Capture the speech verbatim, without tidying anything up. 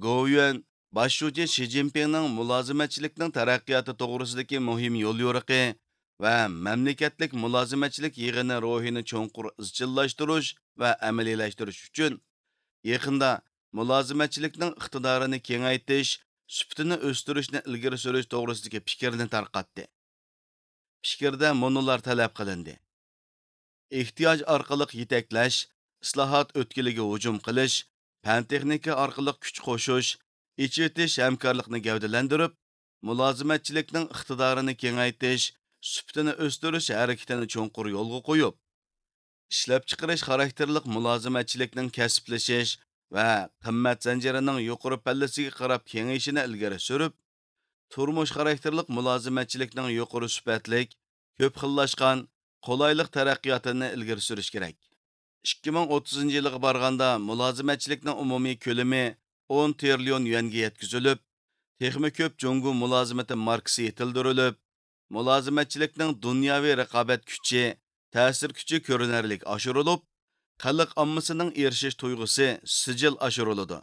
گوۋيۈەن باش شۇجى شى جىنپىڭنىڭ مۇلازىمەتچىلىكنىڭ تەرەققىياتى توغرىسىدىكى مۇھىم يوليورۇقى ۋە مەملىكەتلىك مۇلازىمەتچىلىك يىغىنى روھىنى چوڭقۇر ئىزچىللاشتۇرۇش ۋە ئەمەلىيلەشتۈرۈش ئۈچۈن، يېقىندا مۇلازىمەتچىلىكنىڭ ئىقتىدارىنى كېڭەيتىش، سۈپىتىنى ئۆستۈرۈشنى ئىلگىرى سۈرۈش توغرىسىدىكى پىكىرنى تارقاتتى. پىكىردە مۇنۇلار تەلەپ قىلىندى: ئېھتىياج ئارقىلىق يېتەكلەش، ئىسلاھات ئۆتكىلىگە ھۇجۇم قىلىش، پەن-تېخنىكا ئارقىلىق كۈچ قوشۇش، ئېچىۋېتىش ھەمكارلىقنى گەۋدىلەندۈرۈپ، مۇلازىمەتچىلىكنىڭ ئىقتىدارىنى كېڭەيتىش، سۈپىتىنى ئۆستۈرۈش ھەرىكىتىنى چوڭقۇر يولغا قويۇپ، ئىشلەپچىقىرىش خاراكتېرلىك مۇلازىمەتچىلىكنىڭ كەسىپلىشىش ۋە قىممەت زەنجىرىنىڭ يۇقىرى پەللىسىگە قاراپ كېڭىيىشىنى ئىلگىرى سۈرۈپ، تۇرمۇش خاراكتېرلىك مۇلازىمەتچىلىكنىڭ يۇقىرى سۈپەتلىك، كۆپ خىللاشقان، قولايلىق تەرەققىياتىنى ئىلگىرى سۈرۈش كېرەك. ئىككى مىڭ ئوتتۇزىنچى يىلغا بارغاندا مۇلازىمەتچىلىكنىڭ ئومۇمىي كۆلىمى ئون تىرىليون يۈەنگە يەتكۈزۈلۈپ، تېخىمۇ كۆپ جۇڭگو مۇلازىمىتى ماركىسى يېتىلدۈرۈلۈپ، مۇلازىمەتچىلىكنىڭ دۇنياۋى رىقابەت كۈچى، تەسىر كۈچى كۆرۈنەرلىك ئاشۇرۇلۇپ، خەلق ئاممىسىنىڭ ئېرىشىش تۇيغۇسى سىجىل ئاشۇرۇلىدۇ.